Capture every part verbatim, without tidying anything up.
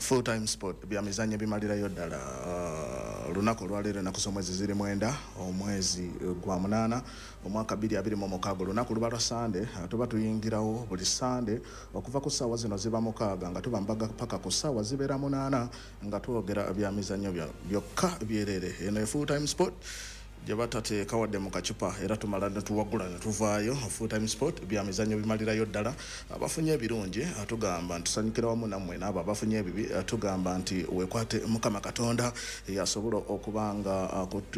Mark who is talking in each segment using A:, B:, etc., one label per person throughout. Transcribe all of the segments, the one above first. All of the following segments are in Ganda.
A: Full Time Sport, byamizannyo bimalirayo ddala. Uh, olunaku olwaleero, ennaku z'omwezi ziri mwenda, omwezi gwa munaana, omwaka bbiri abiri mu mukaaga. Olunaku luba lwa Sande. uh, tuba tuyingirawo buli Sande okuva ku ssaawa zino ziba mukaaga nga tuba mbaga paka ku ssaawa zibeera munaana nga twogera byamizannyo byokka byerere. Eno e Full Time Sport gye batateeka wadde mu kacupa, era tumala ne tuwagula ne tuvaayo. Full Time Sport, byamizannyo bimalirayo ddala. Abafunye ebirungi tugamba nti tusanyukira wamu nammwe, n'abo abafunye ebibi tugamba nti weekwate Mukama Katonda yasobola okuba nga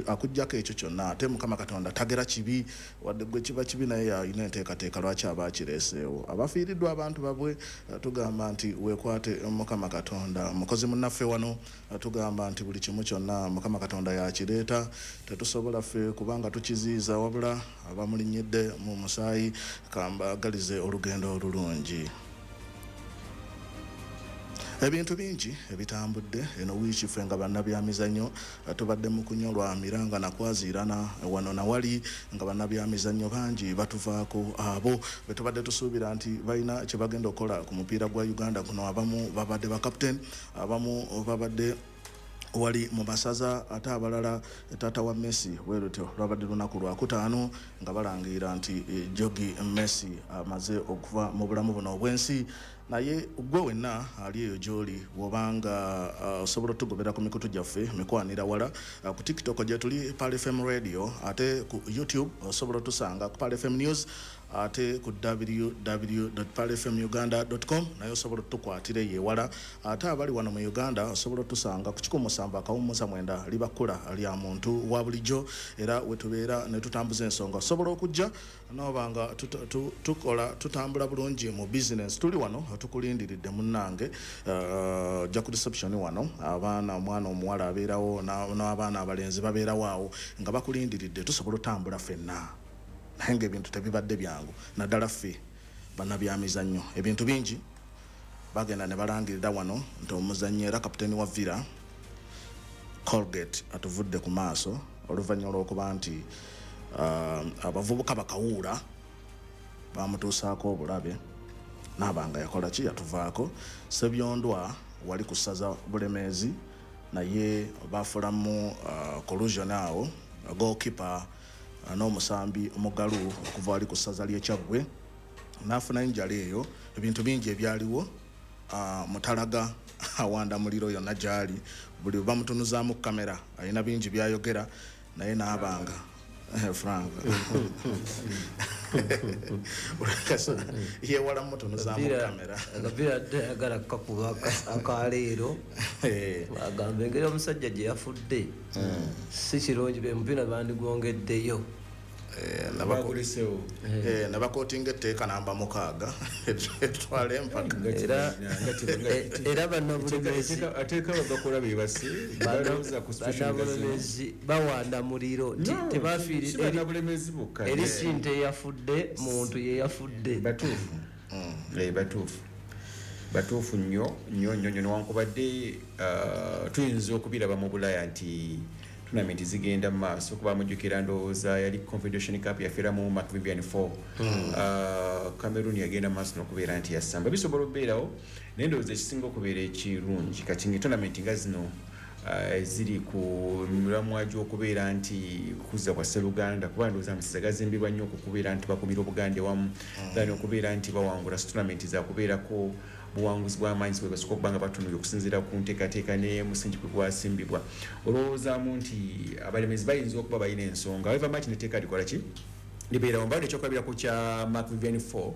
A: akugjako ekyo kyonna. Ate Mukama Katonda tagera kibi, wadde gwe kiba kibi, naye alina enteekateeka lwaki aba akireeseewo. Abafiiriddwa abantu babwe tugamba nti weekwate Mukama Katonda. Mukozi munnaffe wano tugamba nti buli kimu kyonna Mukama Katonda yakireeta, tetusobola ffe kubanga tukiziiza, wabula abamulinnyidde mu musaayi kambagalize olugendo olulungi. Ebintu bingi ebitambudde eno wiiki. Ffe nga bannabyamizannyo tubadde mu kunyolwa miranga nakwaziirana wano nawali nga bannabyamizannyo bangi batuvaako, abo betubadde tusuubira nti balina kye bagenda okukola ku mupiira gwa Uganda guno. Abamu babadde bakaptain, abamu babadde wali mu masaza, ate abalala taata wa Messi. Bwe lutyo lwabadde lunaku lwakutaano nga balangirira nti eh, Jorge Messi amaze okuva mu bulamu buno obw'ensi. Naye gwe wenna ali eyo gy'oli, bw'obanga uh, osobola otugobera ku mikutu gyaffe mikwanira wala, uh, ku TikTok gye tuli Pearl F M Radio, ate ku YouTube osobola otusanga ku Pearl F M News, ate ku W W W pearl F M uganda com naye osobola otukwatira eyo ewala. Ate abali wano mu Uganda osobola otusanga ku kikumi musanvu akawummuza mwenda, liba kkula lya muntu wa bulijjo, era wetubeera ne tutambuza ensonga. Osobola okujja noba nga tuta- tu- tukola tutambula bulungi mu business. Tuli wano tukulindiridde munnange. uh, ojja ku reception wano, abaana, omwana omuwala abeerawo na- n'abaana abalenzi babeerawo awo nga bakulindiridde, tusobola otambula ffenna. Naye ngaebintu tebibadde byangu, naddala ffe bannabyamizannyo. Ebintu bingi bagenda ne balangirira wano nti omuzannyi era kapiteeni wa Villa, Colgate, atuvudde ku maaso oluvannyuma lw'okuba nti uh, abavubuka bakawuula bamutuusaako obulabe, naaba nga yakola ki, yatuvaako. Sebyondwa wali ku ssaza Bulemeezi, naye bafulamu uh, collusion awo, goalkeeper uh, n'omusambi omugalu okuva wali ku ssaza ly'Ekyaggwe n'afuna injury eyo. Ebintu bingi ebyaliwo. uh, mutalaga awanda muliro yonna gyali, buli bamutunuzaamu kamera alina bingi byayogera, naye n'abanga Eh, Frank yewala mutunuzaamu kamera.
B: Akapiira adde ayagala kakuba akaleero.
A: Eh,
B: agamba engeri omusajja gye yafudde si kirungi, be mupiira bandigwongeddeyo.
A: eh, nabako-
C: Bagulisewo.
A: eh, nabakotinga etteeka namba mukaaga etwala empaka.
B: Era era bannabulemeezi
C: Ateeka bagakola bebase balowooza ku situation nga zino.
B: Bannabulemeezi bawanda muliro nti
C: No,
B: tebafiiri
C: si bannabulemeezi bokka.
B: Eri si nte eyafudde, muntu yeyafudde.
C: Batuufu. Eh, batuufu batuufu nnyo nnyo nnyo nnyo, newankubadde uh, tuyinza okubiraba mu Bulaya nti tournament zigenda mu maaso, kuba mujjukira ndowooza yali Confederation Cup yafiiramu Marc Vivien Foe. uh, cameroon yagenda mu maaso n'okubeera nti yasamba. Bisobola okubeerawo, naye ndowooza ekisinga okubeera ekirungi kati nga tournament nga zino uh, eziri ku miramwa gy'okubeera nti kuza kwa sseruganda, kuba ndowooza amasaza gazimbibwa nnyo okukubeera nti bakumira Obuganda ewamu then okubeera nti bawangula. Si tournament zakubeerako buwanguzi bw'amaanyi bwe basooka okuba nga batunulira okusinziira ku nteekateeka ne musingi kwe gwasimbibwa. Olowoozaamu nti abalemezi bayinza okuba balina ensonga, however much neteeka likola ki libeerawo. Mbadde ekyokulabirako kya Marc Vivien Foe.